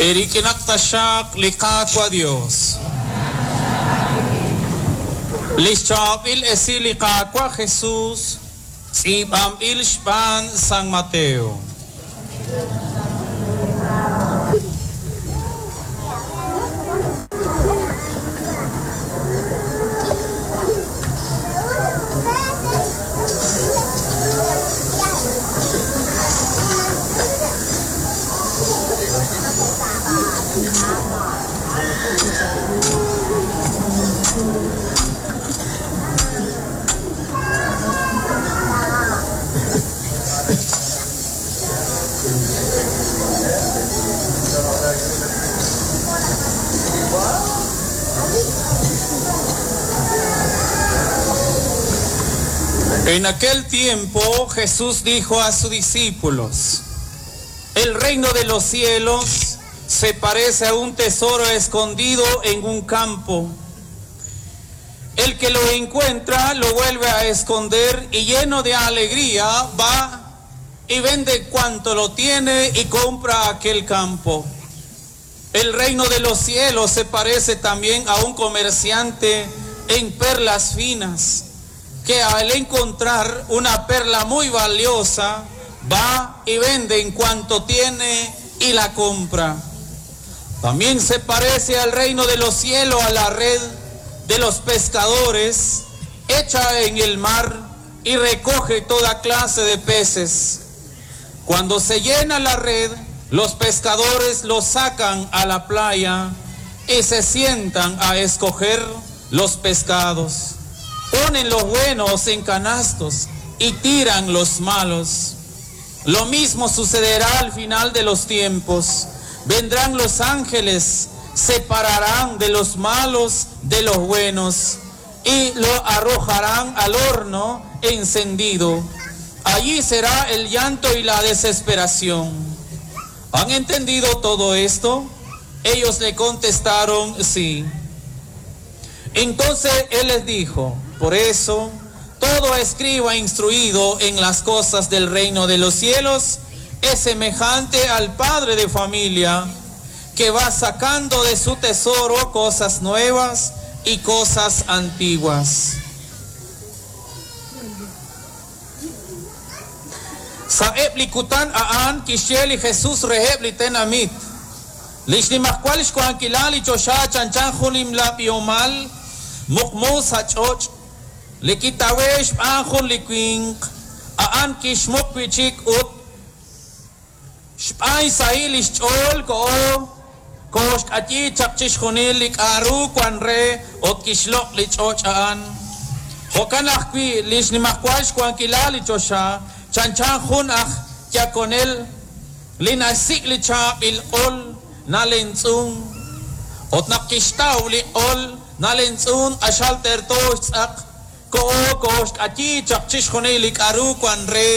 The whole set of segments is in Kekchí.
Eerik'inaq taxaq li Qaawa' Dios. Lix chaab'il esil li Qaawa' Jesus tz'iib'anb'il xb'aan San Mateo. En aquel tiempo Jesús dijo a sus discípulos, el reino de los cielos se parece a un tesoro escondido en un campo. El que lo encuentra lo vuelve a esconder y lleno de alegría va y vende cuanto lo tiene y compra aquel campo. El reino de los cielos se parece también a un comerciante en perlas finas, que al encontrar una perla muy valiosa, va y vende en cuanto tiene y la compra. También se parece al reino de los cielos a la red de los pescadores, hecha en el mar y recoge toda clase de peces. Cuando se llena la red, los pescadores los sacan a la playa y se sientan a escoger los pescados. Ponen los buenos en canastos y tiran los malos. Lo mismo sucederá al final de los tiempos. Vendrán los ángeles, separarán de los malos de los buenos y lo arrojarán al horno encendido. Allí será el llanto y la desesperación. ¿Han entendido todo esto? Ellos le contestaron sí. Entonces él les dijo, por eso todo escriba instruido en las cosas del reino de los cielos es semejante al padre de familia que va sacando de su tesoro cosas nuevas y cosas antiguas. Sa'eb li kutan a'an kixye li Jesus reheb' li tenamit. Li xnimajwal xwankilal li choxa chanchan jun nimla b'ihomal muqmu sa' ch'och' li kitawe' xb'aan jun li winq, a'an kixmuq wi' chik ut xb'aan xsahil li xch'ool koho kooxk'ayi chaq chixjunil li k'a'ru wan re ut kixloq' li ch'och' a'an. Jo'kan ajwi' li xnimajwal xwankilal li choxa chanchan jun aj yakonel li naxsik' li chaab'il q'ol nalemtz'un. Ut naq kixtaw li q'ol nalemtz'un q'axal terto xtz'aq, koho kooxk'ayi chaq chixjunil li k'a'ru wan re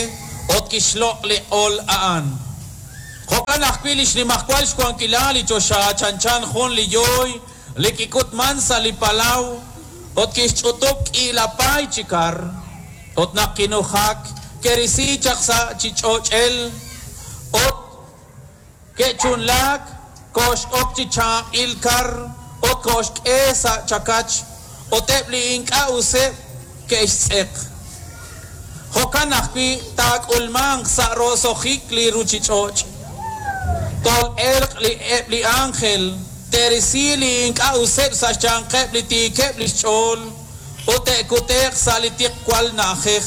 ut kixloq' li q'ol a'an. Jo'kan ajwi' li xnimajwal xwankilal li choxa chanchan jun li yooy li kik'utman sa' li palaw ut kixch'utub' k'iila paay chi kar. Ut naq kinujak, ke'risi chaq sa' chi ch'och'el ut ke'chunlaak, koox'ok chi chaab'il kar ut kooxk'e sa' chakach ut eb' li ink'a' useb' ke'xtz'eq. Jo'kan ajwi' taak'ulmanq sa' roso'jik li ruuchich'och'. Tol'elq li eb' li ánjel te'risi li ink'a' useb' sa' xyanqeb' li tiikeb' li xch'ool ut te'kute'q sa' li tiqwal na'ajej,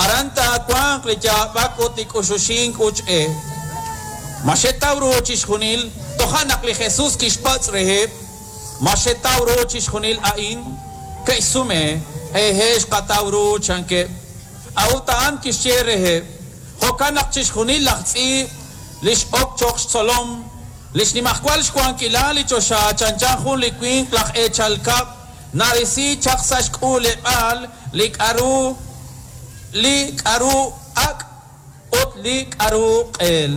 aran taawanq li yaab'ak ut li k'uxuxink uch e. Ma xetaw ru chixjunil? Toja' naq li Jesus kixpatz' reheb', Ma xetaw ru chixjunil a'in? Ke'xsume, Hehe' xqataw ru, chankeb'. A'ut a'an kixye reheb', Jo'kan naq chixjunil laj tz'iib' li x'ok cho'q xtzolom li xnimajwal xwankilal li choxa chanchan jun li winq laj eechal kab' narisi chaq sa' xk'uuleb'aal li k'aru li k'aru ak' ut li k'aru q'eel.